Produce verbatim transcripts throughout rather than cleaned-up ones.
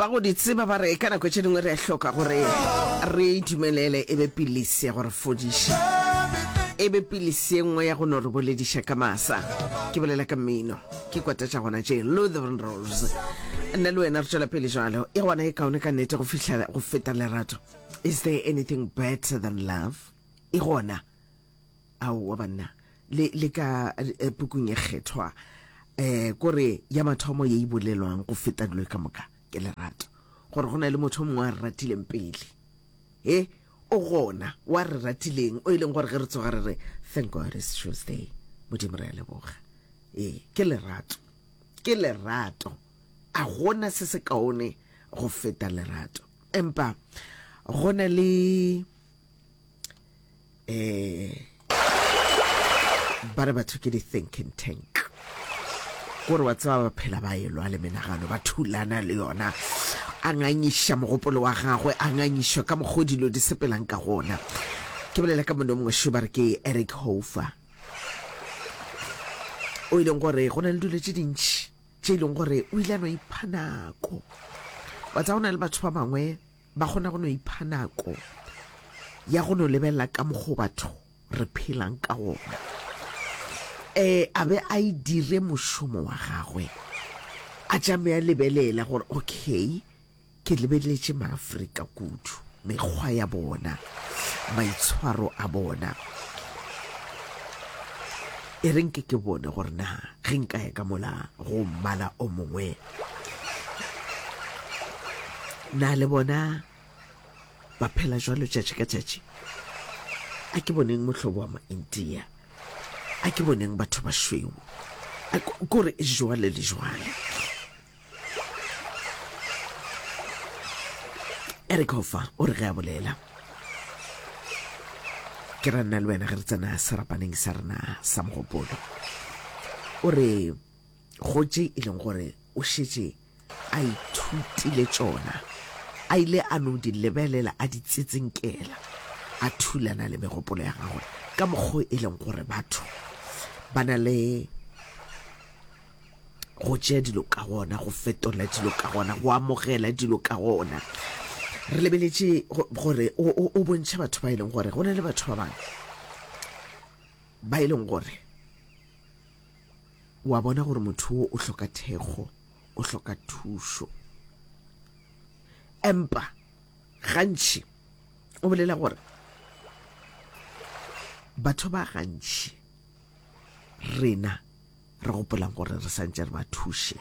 Ba go di tseba ba re ka nako tše dingwe re a hloka gore re dumelele e be pilisi ya go re fodiša, e be pilisi ye nngwe ya go no re bolediša ka masa. Ke bolela ka mmino, ke kwata tša gona tše Lutheran Rose. Nna le wena re tšwela pele jalo. E gona e kaone ka nnete go fihla go feta lerato. Is there anything better than love? E gona. Aowa banna, le le ka eh, pukung e kgethwa eh kore ya mathomo ye e bolelwang go feta dilo ka moka ke lerato. Gore go na le motho o mongwe a re ratileng pele. He, o gona wa re ratileng o e leng gore ge re tsoga re re thank God it's Tuesday. Modimo re a leboga. Ee, ke lerato. Ke lerato. A gona se se kaone go feta lerato. Empa go na le eh ba re batho ke di-thinking tank gore wa tseba ba phela ba elwa le menagano ba thulana le yona a ngangiša mogopolo wa gagwe a ngangišwa ka mokgwa dilo di sepelang ka gona. Ke bolela ka monna o mongwe šo ba re ke Eric Hofer, o e leng gore go na le dilo tše dintši tše e leng gore o ile a no ipha nako. Wa tseba go na le batho ba bangwe ba kgona go no ipha nako ya go no lebelela ka mokgwa batho re phelang ka gona, eh a be a e dire mošomo wa gagwe, a tšame a lebelela gore okay, ke lebeletše maAfrika kudu, mekgwa ya bona, maitshwaro a bona, e re nke ke bone gore na ge nka ya ka mola go mmala o mongwe na le bona ba phela jwalo tšatši ka tšatši. A ke boneng mohlobo wa ma-India, a ke boneng batho ba šweu, kore jwale le jwale. Eric Hoffer o re ge a bolela, ke ra nna le wena ge re tsena serapaneng sa rena sa mogopolo, o re go tše e leng gore o šetše a ithutile tšona, a ile a no di lebelela a di tsetsenkela, a thulana le megopolo ya gagwe ka mokgwa e leng gore batho ba na le go tšea dilo ka gona, go fetola dilo ka gona, go amogela dilo ka gona. Re lebeletše gore o bontšha batho ba e leng gore go na le batho ba bangwe ba e leng gore wa bona gore motho o o hloka thekgo, o hloka thušo, empa gantši o bolela gore batho ba gantši rena re gopolang gore re santše re ba thuše,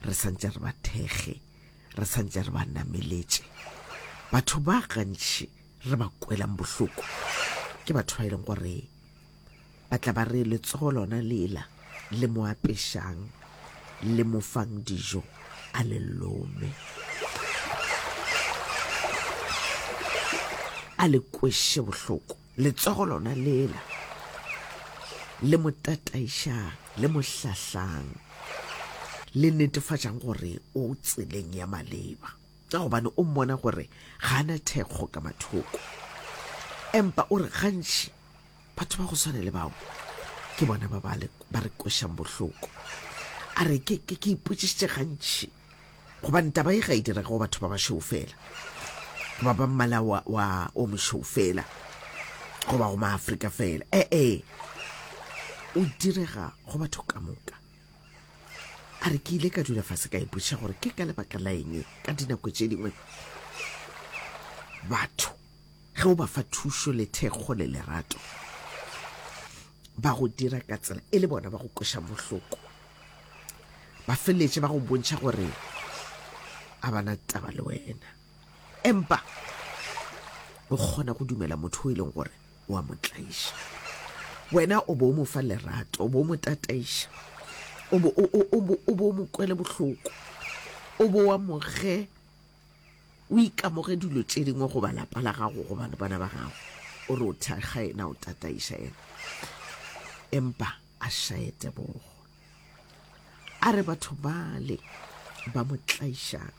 re santše re ba thekge, re santše re ba nameletše. Batho ba gantši re ba kwelang bohloko ke batho ba e leng gore ba tla ba re letsogo lona lela le mo apešang, le mo fang dijo, a le lome, a le kweše bohloko. Letsogo lona lela le mo tataišang, le mo hlahlang, le netefatšang gore o tseleng ya maleba, ka gobane o mmona gore ga a na thekgo ka mathoko. Empa o re gantši batho ba go swana le bao ke bona ba ba re kwešang bohloko. A re ke ke ke ipotšišitše gantši, gobane taba ye ga e direge go batho ba bašweu fela, goba ba mmala wa, wa o mošweu fela, goba go maAfrika fela. Ee, o direga go batho ka moka. A re ke ile ka dula fase ka ipotšiša gore ke ka lebaka la eng ka dinako tše dingwe batho ge o ba fa thušo le thekgo le lerato ba go dira ka tsela e le bona ba go kweša bohloko, ba feleletše ba go bontšha gore a bana taba le wena, empa o kgona go dumela motho o e leng gore o a mo tlaiša. Wena o bo o mo fa lerato, o bo o mo tataiša, o bo o mo kwele bohloko, o bo o amoge, o ikamoge dilo tše dingwe goba lapa la gago goba bana ba gago, o re o thekga yena, o tataiša yena, empa a šaye tebogo. A re batho bale ba mo tlaišang,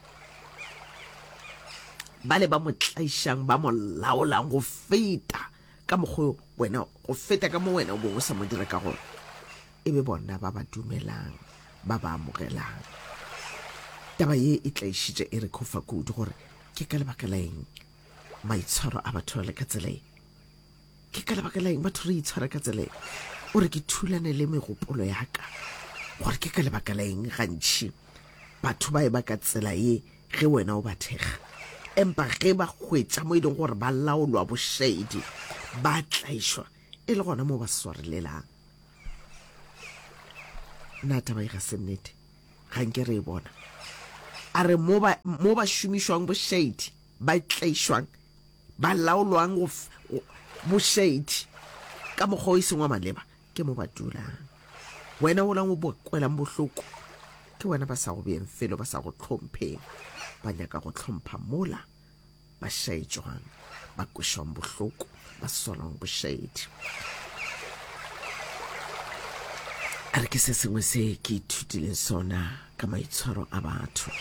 bale ba mo tlaišang, ba mo laolang go feta ka mokgwa wena, go feta ka mo wena o bong o sa mo dira ka gona, e be bona ba ba dumelang, ba ba amogelang. Taba ye e tlaišitše Eric Hoffer kudu gore ke ka lebaka la eng maitshwaro a batho a le ka tsela ye. Ke ka lebaka la eng batho re itshwara ka tsela ye? O re ke thulane le megopolo ya ka gore ke ka lebaka la eng gantši batho ba eba ka tsela ye ge wena o ba thekga, empa ge ba hwetša mo e leng gore ba laolwa bošaedi, ba tlaišwa, e le gona mo ba swarelelang. Na taba ye ga se nnete? Ga nke re e bona. A re mo ba, mo ba šomišwang bošaedi, ba tlaišwang, ba laolwang go, go, bošaedi ka mokgwa o e seng wa maleba, ke mo ba dulang. Wena wola o ba kwelang bohloko, ke wena ba sa go beeng felo, ba sa go hlompheng. Ba nyaka go hlompha mola ba šaetšwang, ba kwešwang bohloko, ba swarwang bošaedi. A re ke se sengwe se ke ithutileng sona ka maitshwaro a batho.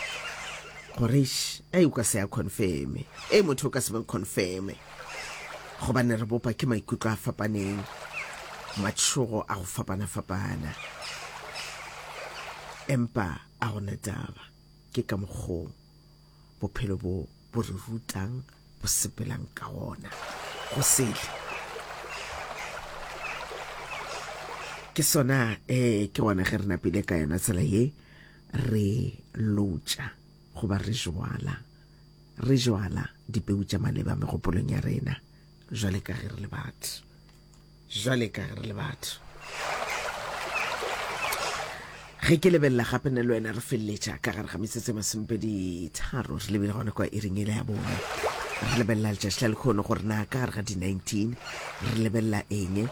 Gore eish, ei o ka se a confirme, ei motho o ka se mo confirme, gobane re bopa ke maikutlo a fapaneng, matšhogo a go fapana-fapana. Empa a gona taba, ke ka mokgo bophelo bo bo re rutang bo sepelang ka gona. Go sele. Ke sona, eh, ke gona ge re napile ka yona tsela ye, re lotša goba re jwala, re jwala dipeu tša maleba megopolong ya rena, jwale ka ge re le batho, jwale ka ge re le batho. Ge ke lebelela gape nna le wena re feleletša ka gare ga metsotso e masomepedi tharo re lebile gona kwa iring ele ya bone, re lebelela letšatši la lekgono gore na ka gare ga di nineteen re lebelela eng.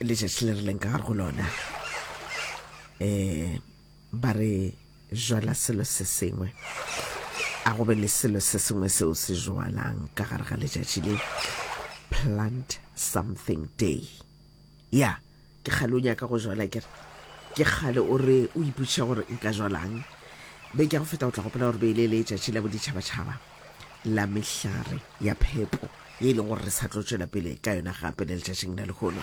Letšatši le re leng ka gare go lona, um ba re jwala selo se sengwe, a go be le selo se sengwe seo se jwalang ka gare ga letšatši le, plant something day. Ya, ke kgale o nyaka go jwala, ke re ke kgale o re o ipotšiša gore nka jwalang. Beke ya go feta o tla gopola gore be e le letšatši la boditšhabatšhaba la mehlare ya phepo, ye e leng gore re sa tlo tšwela pele ka yona gape le letšatšing la lehono.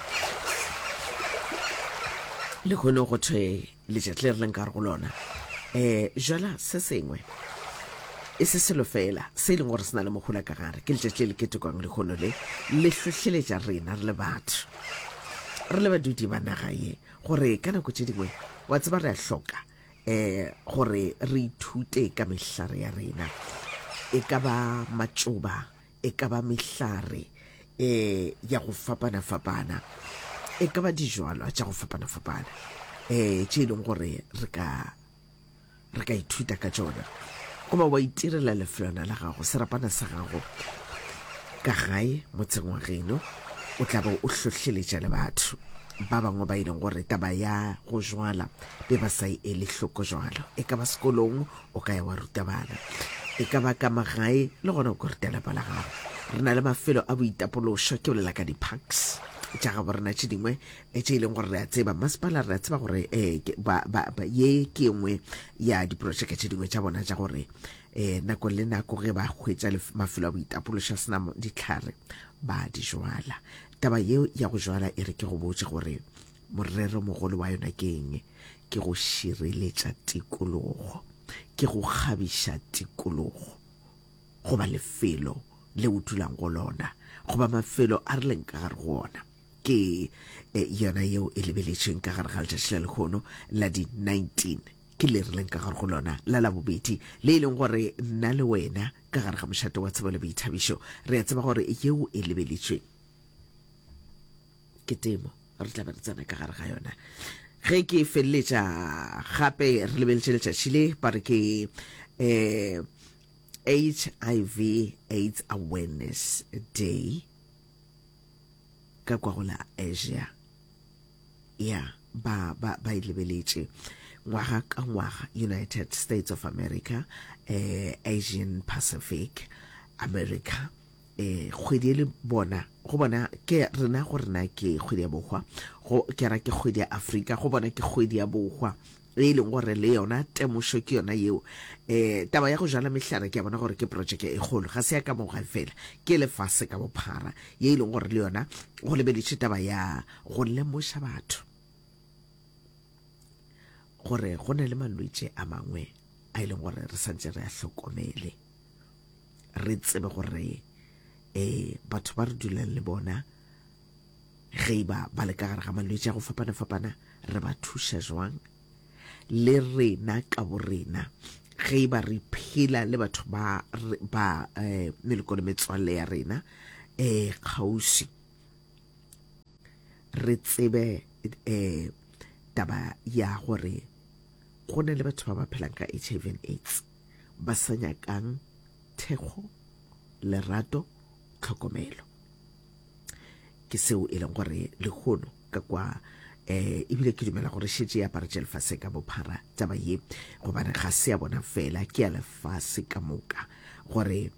Lehono go thwe letšatši le re leng ka gare go lona, um jwala se sengwe, e se selo fela se e leng gore se na le mohola ka gare. Ke letšatši le le ketekwang lehono le, le hlohleletša rena re le batho, re le badudi ba naga ye, gore ka nako tše dingwe wa tseba re a hloka um gore re ithute ka mehlare ya rena, e ka ba matšoba, e ka ba mehlare um ya go fapana-fapana, e ka ba dijwalwa tša go fapana-fapana um tše e leng gore re ka re ka ithuta ka tšona, goba wa itirela lefelwana la gago, serapana sa gago ka gae motseng wa geno, o tla be o hlohleletša le batho ba bangwe ba e leng gore taba ya go jwala be ba sa e ele hloko jwalo. E ka ba sekolong o ka ya wa ruta bana, e ka ba ka magae le gona o ka ruta lapa la gago. Re na le mafelo a boitapološo, ke bolela ka di-parks tša gabo rena tše dingwe tše e leng gore re a tseba masepala, re a tseba gore eh, ba, ba, ba, ye ke engwe ya diprojeke tše dingwe tša bona tša gore eh, nako le nako ge ba hwetša mafelo a boitapološo a sena ditlhare ba di jwala. Taba yeo ya go jwala e re ke go botše gore morero mogolo wa yona ke eng? Ke go šireletša tikologo, ke go kgabiša tikologo goba lefelo le o dulang go lona goba mafelo a re leng ka gare go ona. Ke yona yeo e lebeletšweng ka gare ga letšatši la lehono la di nineteen, ke le re leng ka gare go lona la labobedi, le e leng gore nna le wena ka gare ga mošate wa tsebo le boithabišo re a tseba gore yeo e lebeletšweng ke temo, re tla be re tsena ka gare ga yona. Ge ke feleletša gape re lebeletše letšatši le ba re ke eh H I V AIDS Awareness Day ka kwa go la Asia. Ya, ba ba ba e lebeletše ngwaga ka ngwaga, United States of America, eh Asian Pacific America, eh kgwedi e le bona go bona ke rena go rena ke kgwedi ya bohwa, go ke ra ke kgwedi ya Afrika, go bona ke kgwedi ya bohwa. E leng gore le yona temošo ke yona yeo. Um taba ya go jala mehlare ke a bona gore ke projeke e kgolo, ga se ya ka mo gae fela, ke lefase ka bophara, ye e leng gore le yona go lebeletše taba ya go lemoša batho gore go na le malwetši a mangwe a e leng gore re santse re a hlokomele, re tsebe gore um batho ba re dulang le bona ge e ba ba le ka gare ga malwetši a go fapana-fapana re ba thuša jwang, le rena ka borena ge e ba re phela le batho ba ba eh, meloko le metswalle ya rena eh kgauswi, re tsebe eh taba ya gore go na le batho ba ba phelang ka H I V and AIDS ba sa nyakang thekgo, lerato, tlhokomelo. Ke seo e leng gore lehono ka kwa eh ebile ke dumela gore šetše e aparetše lefase ka bophara taba ye, gobane ga se ya bona fela, ke ya lefase ka moka. Gore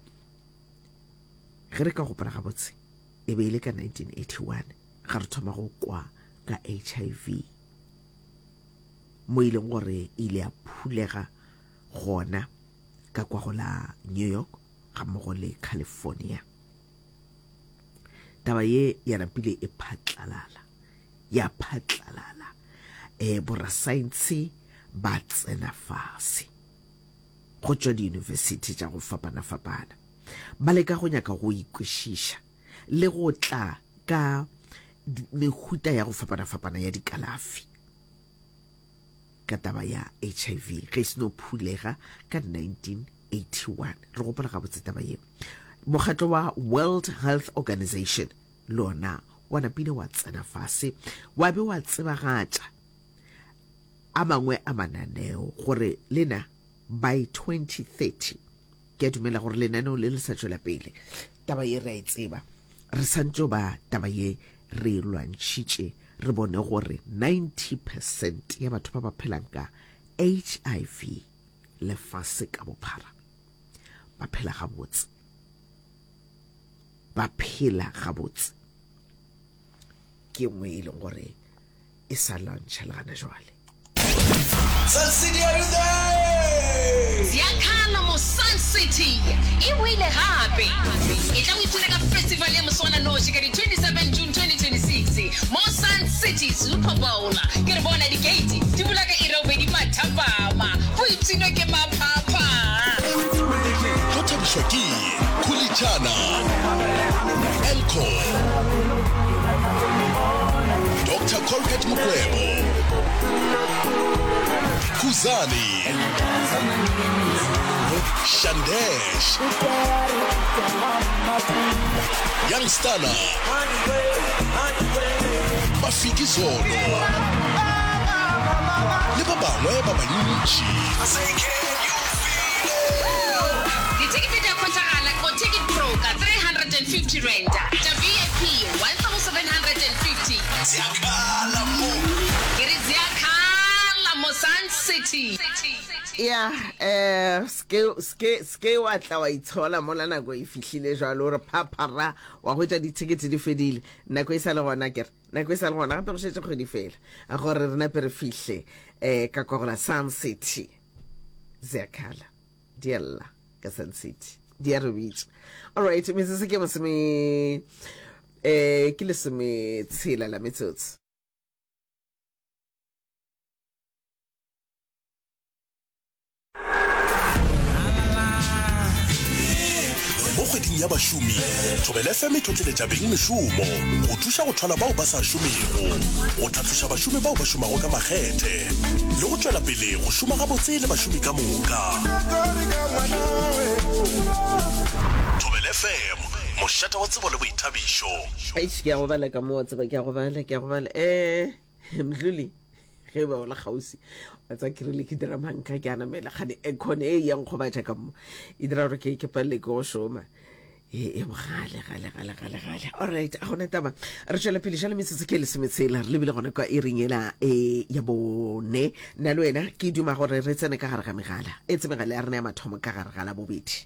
ge re ka gopola gabotse, e be e le ka nineteen eighty-one ga re thoma go kwa ka H I V, mo e leng gore e ile ya phulega gona ka kwa go la New York ga mmogo le California. Taba ye ya napile e phatlalala, ya phatlalala, eh borasaense ba tsena fase go tšwa diyunibesithi tša go fapana-fapana, ba leka go nyaka go ikwešiša le go tla ka mehuta ya go fapana-fapana ya dikalafi ka taba ya H I V ge e seno phulega ka nineteen eighty-one. Re gopola gabotse taba ye. Mokgatlo wa World Health Organization le ona wa napile wa tsena fase, wa be wa tsebagatša a mangwe a mananeo gore lena by twenty thirty, ke a dumela gore lenaneo le le sa tšwela pele. Taba ye re a e tseba, re santše ba taba ye re e lwantšhitše, re bone gore ninety percent ya batho ba ba phelang ka H I V lefase ka bophara ba phela gabotse, ba phela gabotse. Ke nngwe e leng gore e sa lwantšha le gana jwale. Sun City, are you there? Ziakhala mo Sun City e boile gape. E tla go ipshina ka festival ya moswana noši ka di twenty-seven June twenty twenty-six mo Sun City Super Bowl. Ke re bona di-gate di bula ka iri ya bobedi mathapama. Go ipshinwe ke maphapha. Go thabišwa ke Khulichana, Elco, Doctor Colgate Mokwebo, Kuzani, Shandesh, Young Stana, Mafiki Zolo, le ba bangwe ba bantši. Ditekete di a kgontagala go Ticket Pro ka three hundred and fifty rand, tša V I P one thousand seven hundred and fifty. Ziakhala mo. Ke re ziakhala mo Sun City. Ya, eh, ske, ske, ske wa tla wa itshola mola nako e fihlile jwalo, re phaphara wa hwetša ditikete di fedile. Nako e sa le gona, ke re nako e sa le gona, gape go šetše kgwedi fela gore re nape re fihle eh ka kwa go la Sun City. Ziakhala di a lla ka Sun City, di a re bitša. All right, metsotso ke masome, eh, ke lesome tshela la metsotso. Mo kgweding ya bašomi, Thobela F M e tlotleletša beng mešomo go thuša go thwala bao ba sa šomego, go tlhatloša bašomi bao ba šomago ka makgethe, le go tšwela pele go šoma gabotse le bašomi ka moka. Thobela F M, mošate wa tsebo le boithabišo. Eish, ke a go bala ka mo, wa tseba, ke a go bala, ke a go bala. Eh, Mdluli, ge ba o le kgauswi, wa tseba ke rile ke dira manka, ke a namela kgane aircon e yang go batša ka mo, e dira gore ke, ke palele ke go šoma. E, e bogale, gale, gale, gale, gale. All right, a gona taba. Re tšwela pele jale metsotso ke lesometshela, re lebile gona kwa iring ela, e, ya bone. Nna le wena ke duma gore re tsene ka gare ga megala. E tse megala ya rena ya mathomo ka gare ga la bobedi.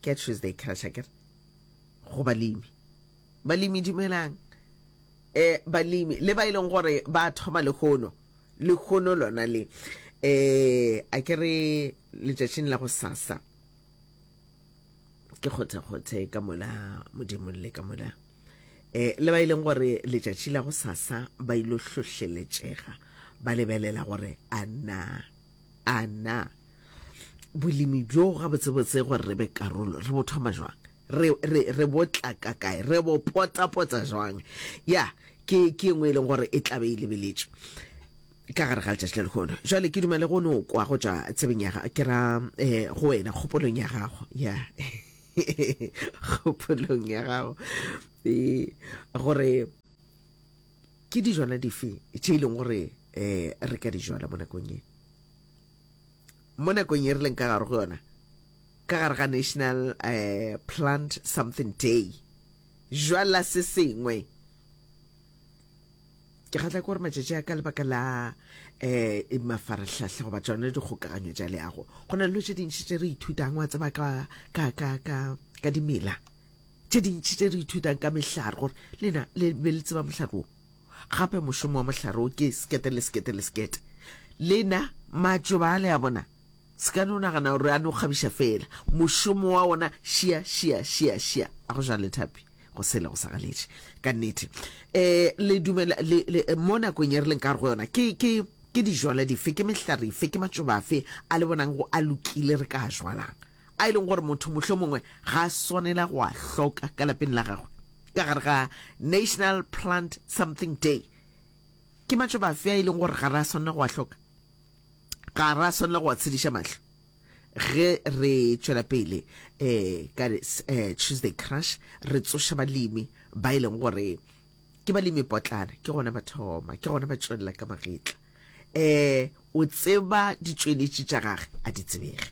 Ke Tuesday crash akere. Go balemi. Balemi dumelang. Eh, balemi le ba e leng gore ba thoma lehono. Lehono lona le eh a ke re letšatšing la go sasa ke kgothekgothe ka mola modimong le ka mola eh le ba ileng gore letšatši la go sasa ba ilo hlohleletšega ba lebelela gore a na a na bolemi bjo gabotsebotse gore re be karolo re bo thoma jwang re re re bo tla ka kae re bo potapota jwang ya ke ke engwe e leng gore e tlabe e lebeletšwe ka gare ga letšatši la lehono jwale ke dumele go no kwa go tšwa tsebeng ya ke ra um go wena kgopolong ya gago ya kgopolong ya gago e gore ke dijwana dife tše e leng gore um re ka di jwala mo nakong ye mo nakong ye re leng ka gare go yona ka gare ga national um plant something day jwala se sengwe ke kgatla ke gore matšatši a ka lebaka la um mafarahlahla goba tsone dikgokaganyo tša leago go na le dilo tše dintši tše re ithutang wa tseba ka, ka, ka, ka, ka dimela tše dintši tše re ithutang ka mehlare gore lena le be le tseba mohlare wo gape mošomo wa mohlare wo ke sekete le sekete le sekete lena matšoba a le a bona se ka no nagana gore a no kgabiša fela mošomo wa ona šia šia šia šia a go jale thapi go sele go sa galetše ka nnete um le dumela le, le, mo nakong ye re leng ka gare go yona ke ke ke dijwala dife ke mehlare efe ke matšoba afe a le bonang go a lokile re ka a jwalang a e leng gore motho mohlho mongwe ga a swanela go a hloka ka lapeng la gagwe ka gare ga national plant something day ke matšoba afe a e leng gore ga re a swanela go a hloka ga re a swanela go a tshediša mahlo ge re tšwela pele um ka eh, tuesday crush re tsoša balemi ba e leng gore ke balemi potlana ke gona ba thoma ke gona ba tšwelela ka magetla um o tseba ditšweletši tša gage a di tsebege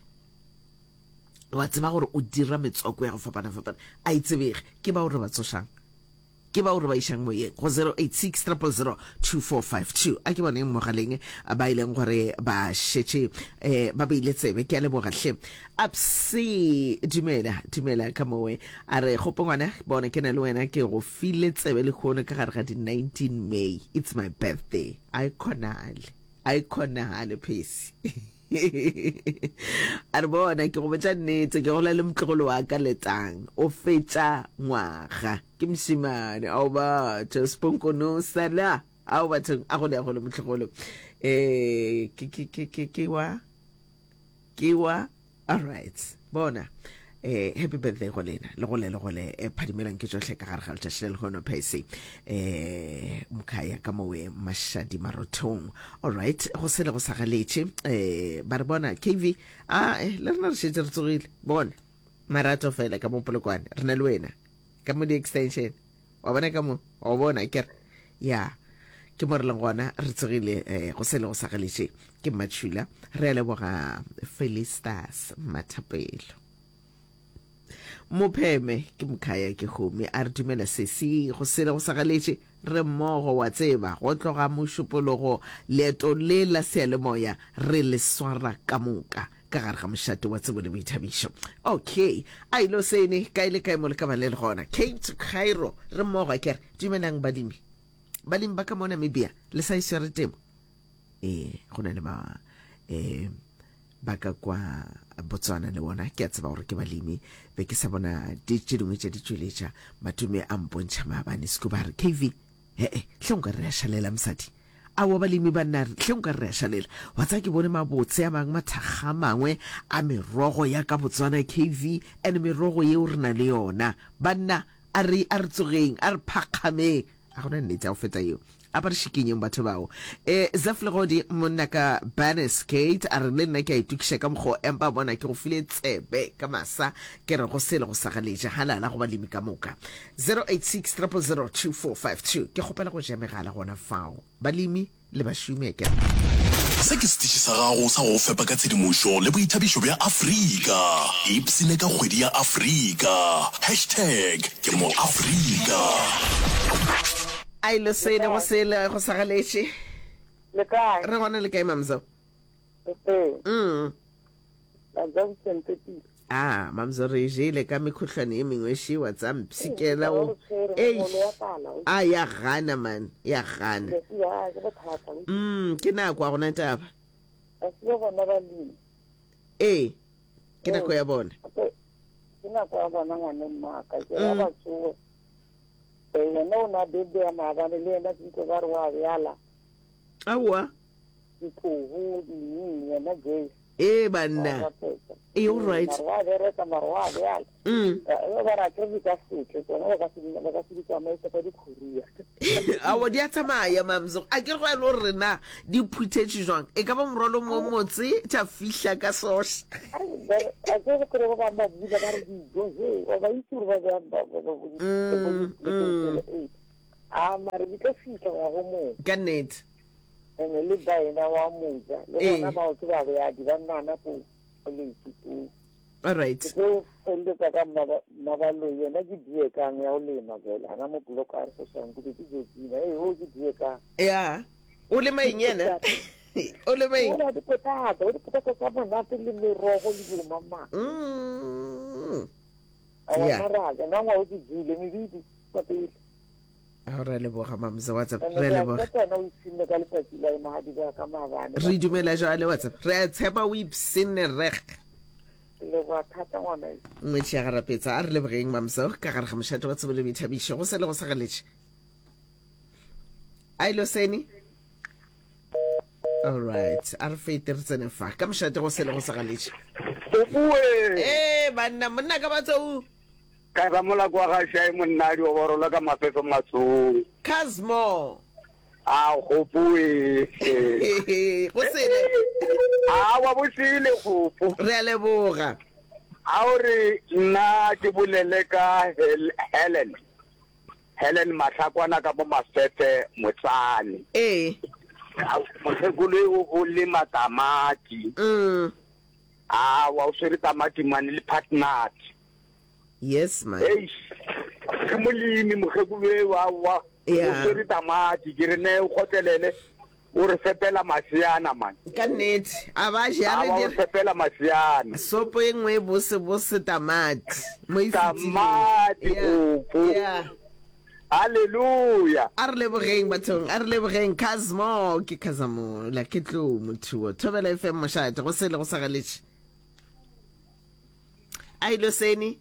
wa tseba gore o dira metswako ya go fapana-fapana a e tsebege ke bao re ba tsošang ke bao re ba išang moyeng go zero eight six triple zero two four five two a ke boneng mogaleng ba e leng gore ba šetše um ba beile tsebe ke a leboga hle apse dumela dumela ka mowe a re kgopo ngwana bona ke na le wena ke go file tsebe lehono ka gare ga di nineteen may it's my birthday a e kgonagale a e kgonagale phesi a re bona ke go botša nnete ke gola le motlogolo wa ka letang o fetša ngwaga ke mošemane ao batho seponkono sala ao bathong a gole a gole motlogolo um ke ke ke ke ke wa ke wa all right bona eh happy birthday go lena le gole le gole eh, phadimelang ke tšohle ka gare ga letšatši le lehono phese eh mkhaya ka mowe mashadi marothong all right go sele go sa galetše eh ba re bona K V a eh, le rena re šetše re tsogile bona marato fela ka mo Polokwane re na le wena ka mo di-extension wa bona ka mo wa bona kere ya ke mo re leng gona re tsogile eh, go sele go sa galetše ke Mmatšhula re a leboga Felistas Mathapelo Mopheme ke mokhaya ke home a re dumela sesi go sele go sa galetše re mmogo wa tseba go tloga mošupologo leeto le la seyalemoya re le swara ka moka ka gare ga mošate wa tsebo le boithabišo okay a ilo sene kae le kae mo le ka ba le le gona Cape to Cairo re mmogo a kere dumelang balemi balemi ba ka mo Namibia le sa e swere temo ee go na le ba um ba ka kwa Botswana le bona ke a tseba gore ke balemi be ke sa bona di tše dingwe tša ditšweletša matume a mpontšha maabane seko ba re K V ee hle nka re a šalela mosadi aowa balemi ba nna hle nka re a šalela wa tsaya ke bone mabotse a mangwe mathakga a mangwe a merogo ya ka Botswana K V and merogo yeo re na le yona banna a re a re tsogeng a re phakgameng a gona nnete ya go feta yeo a ba re šikinyeng batho bao e Zef Legodi monna ka Bannis Gate a re le nna ke a itokiša ka mokgwa empa bona ke go file tsebe ka masa ke re go sele go sa galetše halala go balemi ka moka zero eight six triple zero two four five two ke kgopela go ja megala gona fao balemi le bašomi ke Se ke setiši sa gago sa go go fepa ka tshedimošo le boithabišo bja Afrika. Ipshine ka kgwedi ya Afrika. Hashtag ke mo Afrika. A ilo sele go sele go sa galetše. Le kae? Re gona le kae Mamzo? Re teng. Mm. La Junction Tepile. A Mamzo re e jele ka mekhohlwane e mengwe šiwa tsa Ee, mpshikela taba o go tshwere eish mogolo wa pala o a ya gana man ya gana ya ke bothata o mm ke nako a gona taba a se bona balemi ee ke nako ee ya bona gape ke nako ya bona ngwane mmaka ke ya mm ba tsoe ee yena o na bebe ya maabane le yena ke utlwe ba re wa bjala aowa ditlogo ding yena Joyce ee wa banna rapetsa ee all ee right mare wa bereka mare wa bjala mm Eh, ba re akere di ka setle tsona ba ka se di- ba ka se di tsamaise ka dikhuria aowa di a tsamaya Mamzo a ke re go ya le gore rena di phuthetše jwang e ka ba morwalo mo motse tša fihla ka soša a ke re kry ba bang ba bula ba re dijo he wa ba itse gore ba bjang ba- ba- ba- bo di- bo mm di- mm ee a mare di tlo fihla ngwago mongwe ka nnete ene le baena wa moja le bona ee bao ke babjadi ba nnana ko letse ko all right ke tlo feleletsa ka mmaba- mmabaloi yena ke diekang ya go lema jale ana mo block a re sosang ke be ke jetsina ee o ke diekang ya o lema eng yena o lema eng o na dipotata o dipotata tsa monate le merogo le dilo mamang Mm. awa ya maraja nna ngwao ke jele mebidi kwa pele a re a leboga Mamzo WhatsApp ene re a ke a leboga tshepa wena o ipshinne ka letsatsi la mahadi ba ka maabane re dumela jale WhatsApp re a tshepa o ipshinne reg ke leboga thata ngwana e ngwetši ya garapetsa a re lebogeng Mamzo ka gare ga mošate wa tsebo le boithabišo go sele go sa galetše a ilo sene all right a re fete re tsene fa ka mošate go sele go sa galetše Opuwe ee banna monna ka batsou ka ba molako wa gašae monna di oborola ka mafefe matsong Casmo a gopoe go sele a wa bosele gopo re a leboga a o re nna ke bolele ka Hel- Helen Helen Mahlakwana ka mo mafefe motsane ee A- mokgekolo eo o lema tamati mm a wa o swere tamati mane le partners yes man eish ke molemi mokgekolo eo aowa o ya swere tamati ke re ne o kgotlelele o re fepela maseana man ka nnete a ba je a re awa o dire fepela maseana sopo e nngwe e bose bose tamati mo e fetileng tamati ya gopo ya halleluja a re lebogeng bathong a re lebogeng Casmo ke Casamola ke tlo mothuo Thobela F M mošate go sele go sa galetše a ilo sene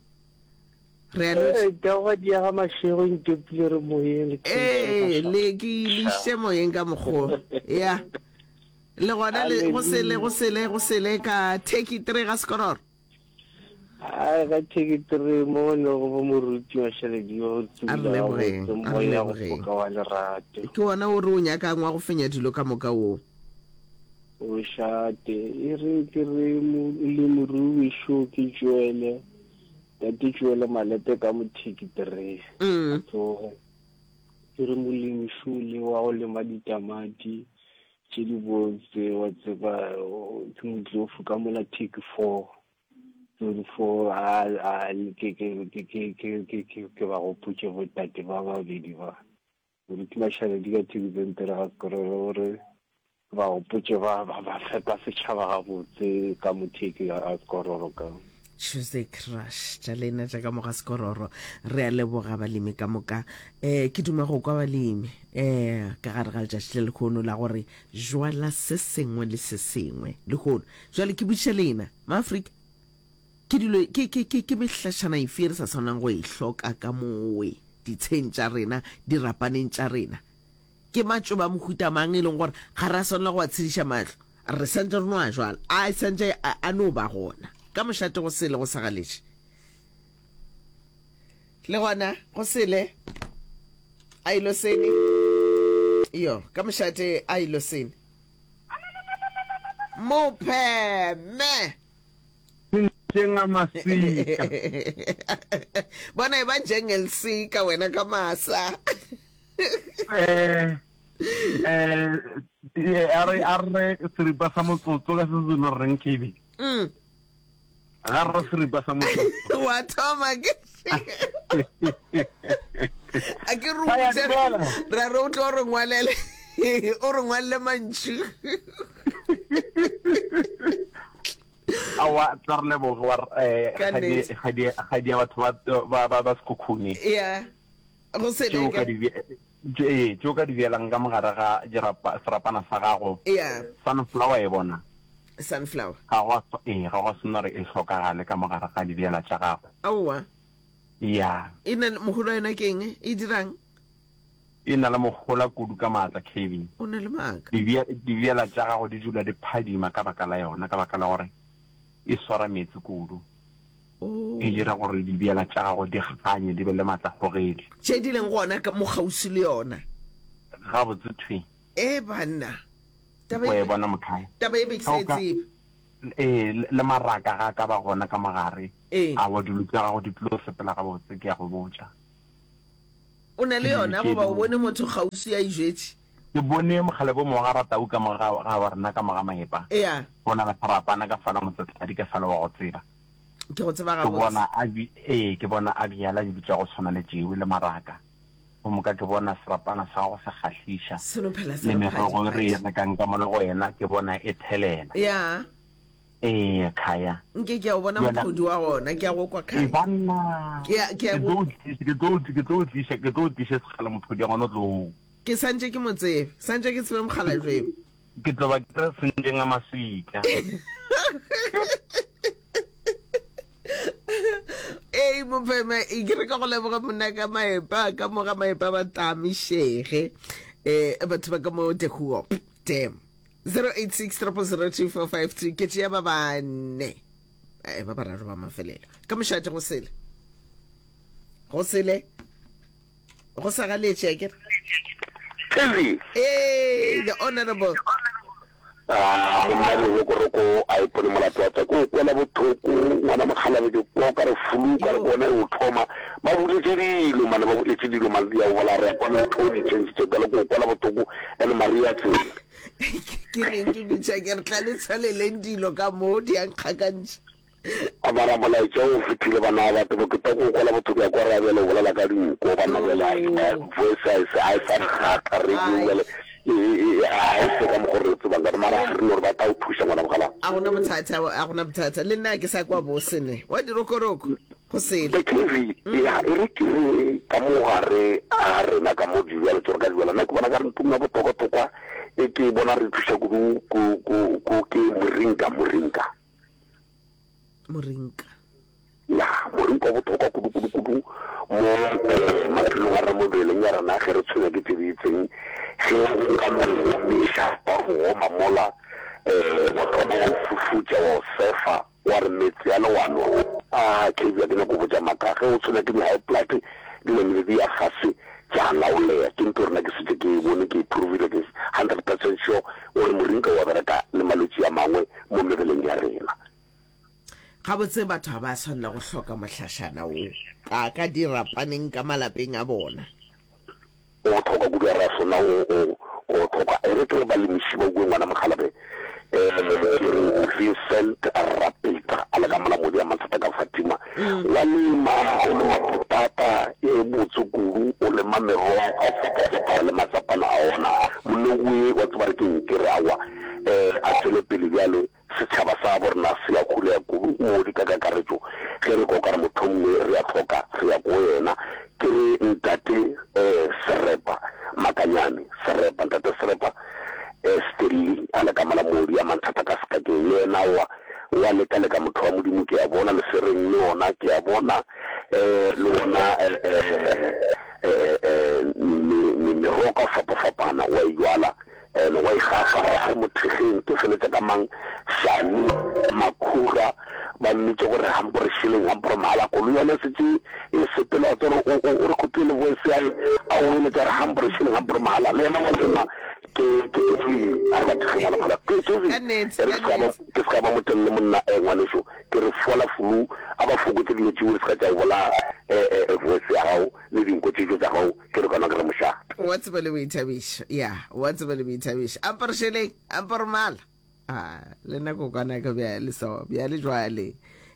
re a lotšha Ee, taba di ya ga mašego ntopile re moyeng le theetše ee mašego. le ke ileiše moyeng ka mokgwa ya le gona le go sele go sele go sele ka theki three ga sekororo Ai ga theketore mo ne go bo moruti mašaledi o a re tsebile lebogeng gabotse a re moya go lebogeng foka wa lerato ke wona o re o nyakang wa go fenya dilo ka moka wo o šate e re ke re mo- le morui šo ke tšwele tate tšwele malepe ka mo theketore a mm tsoge ke re molemi šo le wa go lema ditamati tše di botse wa tseba o- ke motlofu ka mola theke four thirty four a a ke ke ke ke ke ke ke ke ba gopotše botate ba babedi ba moruti Mašaledi ka thekisente ga sekororo gore ba gopotše ba ba ba fepa setšhaba gabotse ka motheke ga sekororo ka Tuesday crush tša lena tša ka moga sekororo re a leboga balemi ka moka um ke duma go kwa balemi um ka gare ga letšatši le lekgono la gore jwala se sengwe le se sengwe lekgono jwale ke botšiša lena maafrika ke dilo ke ke ke ke mehlašana efe re sa tshwanang go e hloka ka mowe ditsheng tša rena dirapaneng tša rena ke matšoba mohuta mang e leng gore ga re a swanela go a tshediša mahlo re santse re no a jwala a santse a a no ba gona ka mošate go sele go sa galetše le gona go sele a ilo sene yo ka mošate a ilo sene mopheme Njengamasika. bona e ba njengelisika wena ka masa Eh eh eh, a re a re seripa sa motsotso ka Sezulu re reng K B. Mm. Ga re seripa sa motsotso. Wa thoma ke a ke re Ba ya botse dumela. ra re o tlo re ngwalele o re ngwalele mantšu Aowa Aowa, tla re leboge wa eh, Ka kgadi nnete. kgadi kgadi ya batho ba ba ba, ba Sekhukhune. Ya. Go Tšeo sele ka ka. di tše ee, tšeo ka di bjalang ka mogare ga dirapa serapana sa gago. Ya. Sunflower e bona. Sunflower. Ga gwa ee, ga gwa swanela gore e hlokagale ka mogare ga dibjala tša gago. Aowa. Ya. E na le mohola wa yona ke eng? E dirang? E na le mohola kudu ka maatla, Kevin. O na le maaka. Dibja, dibjala tša gago di dula di phadima ka baka la yona, ka baka la gore e swara meetse kudu. Oh. E dira gore dibjala tša gago di kganye, di be le maatlakgogedi. Tše di leng gona ka mo kgauswi le yona. Gabotse thwi. E banna. Taba O e e bona mothae. Taba e be ke Ge sa o e ka, tsebe. ee, le maraka ga a ka ba gona ka mogare, Ee. aowa dilo tša gago di tlo sepela gabotse, ke a go botša. O na le Ke dilo yona tše goba o dingwe. bone motho kgauswi a e jwetše? Ke bone mokgalabje o mongwe ga Ratau ka mo ga, ga rena ka mo ga Maepa. Ea. Go na le serapana ka fala Motsetladi ka fala wa go tseba. Ke go tseba Ke gabotse. bona a bi, ee, ke bona a bjala dilo tša go tshwana le tšewe le maraka. Gomme ka ke bona serapana sa gago se kgahliša. Se no phela se Le re merogo e re e phadi-phadi. rekang ka mo le go yena ke bona e thelela. Ya. Ee, Khaya. Nke ke a o bona Bjale. mophodi wa gona, ke a go kwa Ee, Khaya. banna. Ke a, ke a Ke go. tlo o tliša, ke tlo o, ke tlo o tliša, ke tlo o tliša sekgala mophodi wa gona o tlo. Ke santše ke mo tsebe, santše ke tsebe mokgalabje. Ke tlo ba ke re sentšeng a maswika. Ei mopheme, e ke re ka go leboga monna ka Maepa, ka mo ga Maepa ba tamišege. Eh batho ba ka mo De Hoop Dam. zero eight six triple zero two four five two ke tšea ba bane. Eh ba bararo ba mafelelo. Ka mošate go sele. Go sele. Go sa galetše akere. Kevin. Hey, the honorable. Ah, monna lerokoroko a ipone molato wa tsa ko kwela bothoko ngwana mokgalabe ke kwa ka re flu ka re kone o thoma ba boletse dilo mane ba boletse dilo mane ya bola re kwa le tho di change tse ka le ko kwela bothoko ene Maria tsela Ke reng ke bitša ke re tla le tshwaleleng dilo ka mo di a nkgakantšha. A mara molaetša o fetile bana ba batho ke tlo go kwela bothoko ya kwa re bjale o bolela ka dinko bana bjale voice a e sa a e sa kgatha radio bjale a e se ka mokgo re tsebang ka mara re no re ba tla o thuša ngwana mogala. A gona bothata, a gona bothata. Le nna ke sa kwa bose ne. Wa dirokoroko go sele. The K V ya e re ke re ka mo gare a rena ka mo dibjalo tse re ka di bjala nna ke bona ka re ntho ya bohlokwa-hlokwa e ke bona re thuša kudu ko ko ko ke moringa moringa. Morinka. Ya, morinka o bohlokwa kudu kudu kudu mo eh, maphelong a rena mo mebeleng ya rena ge re tshwenywa ke tse di itseng ge o ka no omiša wa go oma mola eh, wa thoma wa o fufutša wa o sefa wa re meetse a le wa nwa a K V a ke nyako botša maaka ge o tshwenywa ke di-high blood di namile di ya fase tša laoleya ke ntho rena ke setse ke e bone ke e provile ke hundred percent sure gore morinka wa bereka le malwetši a mangwe mo mebeleng ya rena. Gabotse batho ga ba swanela go hloka mohlašana wo ka ka dirapaneng ka malapeng a bona. O bohlokwa kudu a re a sona o o o bohlokwa. E re ke re balemiši ba kue ngwana mokgalabe eh ke re Vincent Rapeta a le ka Molamodi a Mathata ka Fatima wa lema o lema potata e botse kudu o lema merogo a fapafapana le matsapana a ona monna oe wa tseba re keng ke re aowa eh a tšwele pele bjale Setšhaba sa gabo rena se a khulega kudu moodi ka kakaretšo ge re kwa o ka re mohlomongwe re a hloka re ya ko yena. Ke re Ntate Serepa Makanyane, Serepa, Ntate Serepa Stanley a le ka mola moodi a manthata ka sekakeng le yena wa wa leka leka motho wa Modimo ke a bona lesereng le ona ke a bona le ona merogo ka go fapafapana wa e jwala Ene wa ikgafa a re mothekgeng ke feletša ka mang Shani Makhura ba mmitše gore hampore shilling hampore mahala koloi yone e setše e sepela wa tseba o o re khopile le voice ya a o eletša re hampore shilling hampore mahala le yena wa tseba ke ke ke a re ba thekgeng wa lekgola ke ke Ka nnete, re ka se ka ba nnete. ke se ka ba motelele monna eh ngwaneso ke re fola flu a ba fokotse dilo tšeo di se ka tša o bolaya eh eh voice ya gago le dinko tšetšo tša gago ke re kana ke re mošate. Wa tseba le boithabišo. Ya, wa tseba le boithabišo. Amparo šeleng, amparo mala. A, le nna kokwana ka bjale so, bjale jwale.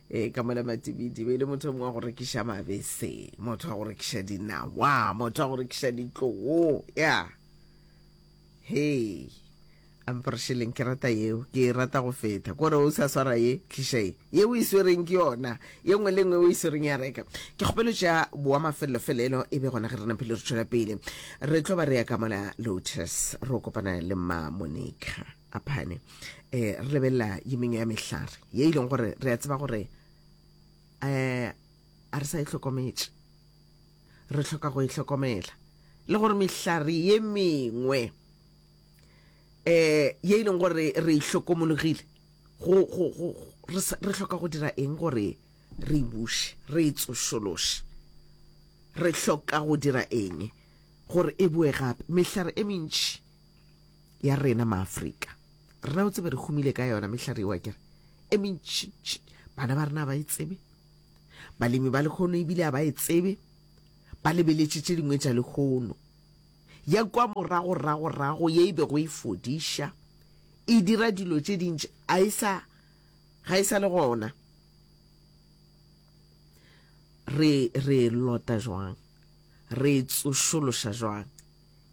E, ka mola Matibidi, be e le motho o mongwe wa go rekiša mabese, motho wa go rekiša dinawa, motho wa go rekiša ditloo. Ya. Hei. Amporšeleng ke rata yeo, ke e rata go feta. Kore o sa swara ye, tliša ye. Ye o e swereng ke yona. Ye nngwe le nngwe o e swereng ya reka. Ke kgopelo tša boa mafelelo-felelo e be gona ge re napile re tšwela pele. Re tlo ba re ya ka mola Lotus, ro kopana le mma Monica Aphane. Eh, re lebelela ye mengwe ya mehlare ye e leng gore re a tseba gore eh a re sa e hlokometše. Re hloka go e hlokomela. Le gore mehlare ye mengwe eh ye e leng gore re e hlokomologile go go go re re hloka go dira eng gore re e buše, re e tsošološe. Re hloka go dira eng gore e boe gape? Mehlare e mentši ya rena Maafrika, rena o tsebe re humile ka yona mehlare eo akere, e mentši-ntši, bana ba rena ga ba e tsebe, balemi ba lehono ebile ga ba e tsebe, ba lebeletše tše dingwe tša lehono. Ya kwa morago-rago-rago ye e bego e fodiša, e dira dilo tše dintši, a e sa, ga e sa le gona. Re, re e lota jwang? Re e tsošološa jwang?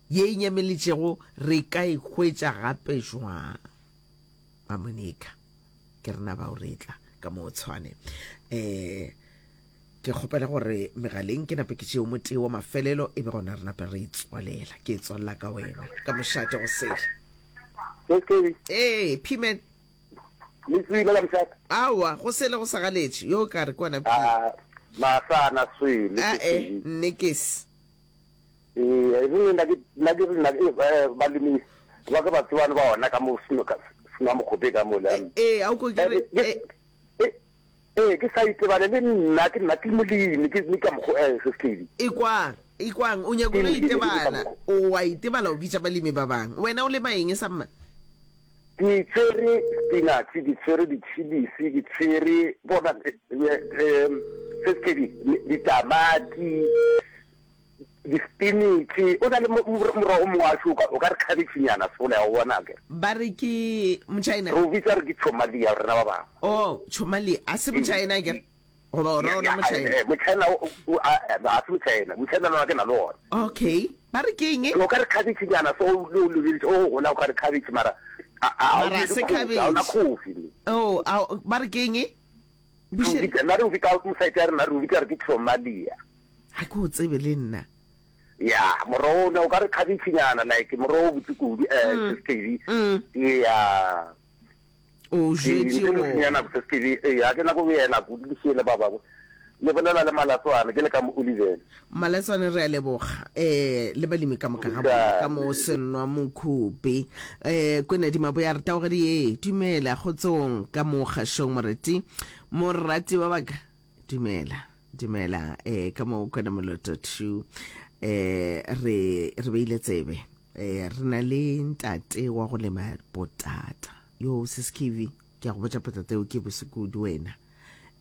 Ye e nyameletšego re ka e hwetša gape jwang? Mamonica, ke rena bao re tla ka mo Tshwane. Eh, ke kgopela gore megaleng ke nape ke tšeo motee wa mafelelo e be gona re nape re e tswalela. Ke e tswalela ka wena ka mošate go sele. Ee, P-man. Le tswile ka mošate? Aowa, go sele go sa galetše. Yo ka re ke wena P. Ah, masana swele. Ae, nnekes. Ee, e rile nna ke nna ke nna eh, balemi ba ke ba tsebane ba ona ka mo seno ka seno mokgope ka mo le. Ee, a o ko ke re eh eh ke sa itebale le nna ke nna ke molemi ke ke ka mokgo eh se se Ikwang, ikwang, o nyaka o itebala, o wa itebala o bitša balemi ba bang. Wena o lema eng sa mma? Ke tshwere spinach, ke tshwere di-chillies, ke tshwere bona eh se se ditamati. Di-spinach, o na le morogo mongwe wa šoka, o ka re khabetšhenyana sola ya go bona akere. Ba re ke Mochina. Re o bitsa re ke Chomalia rena ba bangwe. Oh, Chomalia, a se Mochina akere? Goba o ra ona Mochina? Mochina a se Mochina, Mochina lona ke na le ona. Okay, ba re ke eng? O ka re khabetšhenyana so o o lebeletše o gola o ka re khabetšhe mara a Mara se khabetšhe. Ga ona khofi. Oh, ba re ke eng? Nna re o bitsa mo site ya rena re o bitsa re ke Chomalia. Ga ke o tsebe le nna. Ya, morogo o ne o ka re khabetšhenyana, like morogo o botse kudu, eh, mm. Seskedi. Mm. Ya. O jwetše o. Ya nako Seskedi, eh, ya ke nako yena kudu le šiele ba bangwe. Le bolela le Malatswane, ke le ka mo Oliven. Malatswane re a leboga, eh, le balemi ka moka ga bona, ka mo Senwa Mokhupe. Eh, Kwena di Maboya re taogedi ye, dumela kgotsong ka mo kgašong moreti, morati wa baka, dumela. Dumela, eh, ka mo Kwena Moloto two, eh, re, re beile tsebe, eh, re na le ntate wa go lema potata. Yo, sis Kivi, ke a go botša potata eo ke bose kudu wena.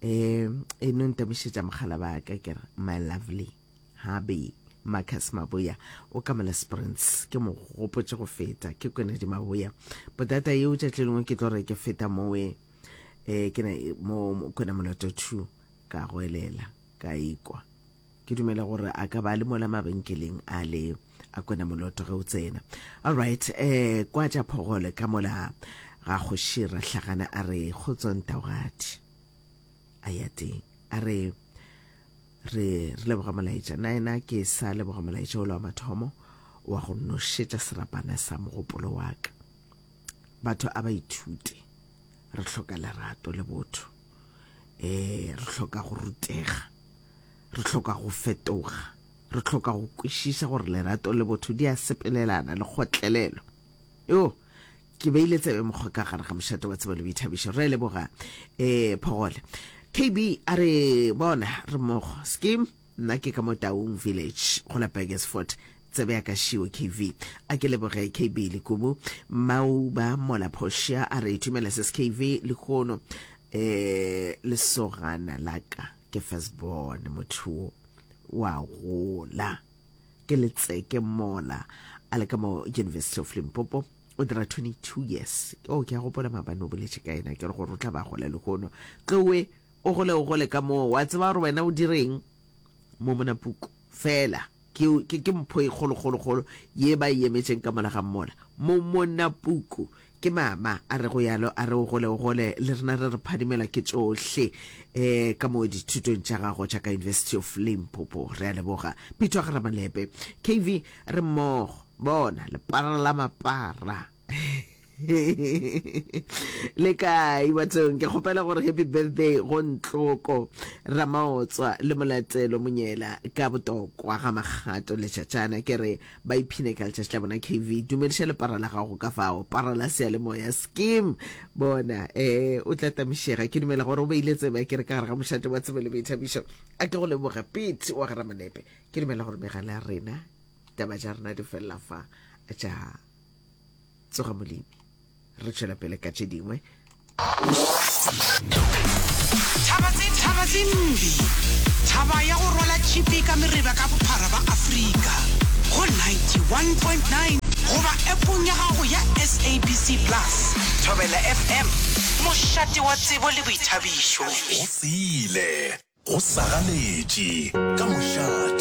Eh, e no ntamišetša mogala ba ka ke re, my lovely hubby Marcus Maboya o ka mola Springs, ke mo gopotše go feta, ke Kwena di Maboya. Potata eo tšatši le lengwe ke tlo re ke feta mowe, eh, ke na mo Kwena Moloto two, Ka goelela, ka ikwa. Ke dumela gore a ka ba le mola mabenkeleng a le a kwena moloto ge o tsena. Alright, eh, kwa tša phogole ka mola ga kgoši Rahlagana a re kgotso ntaogadi. A ya teng. A re re re leboga molaetša. Na ena ke sa leboga molaetša ola wa mathomo wa go nošetša serapana sa mogopolo wa ka. Batho a ba ithute. Re hloka lerato le botho. Eh, re hloka go rutega, re hloka go fetoga, re hloka go kwešiša gore lerato le botho di a sepelelana le kgotlelelo. Yo, ke beile tsebe mokgwa ka gare ga mošate wa tsebo le boithabišo. Re leboga eh Phogole. K B a re bona re mmogo. Skim, nna ke ka mo Taung Village go la Burgersfort. Tsebe ya ka šiwe K V. A ke leboge K B Lekubu. Mauba Mola Portia a re dumela sis K V lehono. Eh, lesogana la ka ke first born, motho wo wa gola ke letseke mola a le ka mo University of Limpopo, o dira twenty-two years. Oh, ke a gopola maabane o boletše ka yena, ke re gore o tla ba gola lehono. Tlowe o gole o gole ka moo, wa tseba gore wena o direng mo monapuku fela. Ke, ke, ke mpho e kgolokgolokgolo ye ba e emetšeng ka mola ga mmola. Momonapuku ke mama a re go yalo, a re o gole o gole, le rena re re phadimela ke tšohle eh, ka mo dithutong tša gago tša ka University of Limpopo. Re a leboga. Pitwa ga Ramalepe. K V, re mmogo. Bona, lepara la mapara. Le kae bathong? Ke kgopela gore happy birthday go Ntloko Ramaotswa le Molatelo Monyela ka botokwa ga Makgato letšatšana. Ke re ba iphine ka letšatši la bona. K V, dumediša lepara la gago ka fao, para la seyalemoya skim. Bona, eh, o tla tamišega. Ke dumela gore o beile tsebe ke re ka gare ga mošate wa tsebo le boithabišo. A ke go leboge Pete wa ga Ramalepe. Ke dumela gore megala ya rena, taba tša rena di felela fa tša tsoga molemi. Re tšwela pele ka tše dingwe. Thaba tse Thaba tse mbi, thaba ya go rwala tšhipi ka mereba ka bophara ba Afrika, go ninety one point nine goba appong ya gago ya S A B C Plus. Thobela F M, mošate wa tsebo le boithabišo. Go sele, go sagaletše, ka mošate.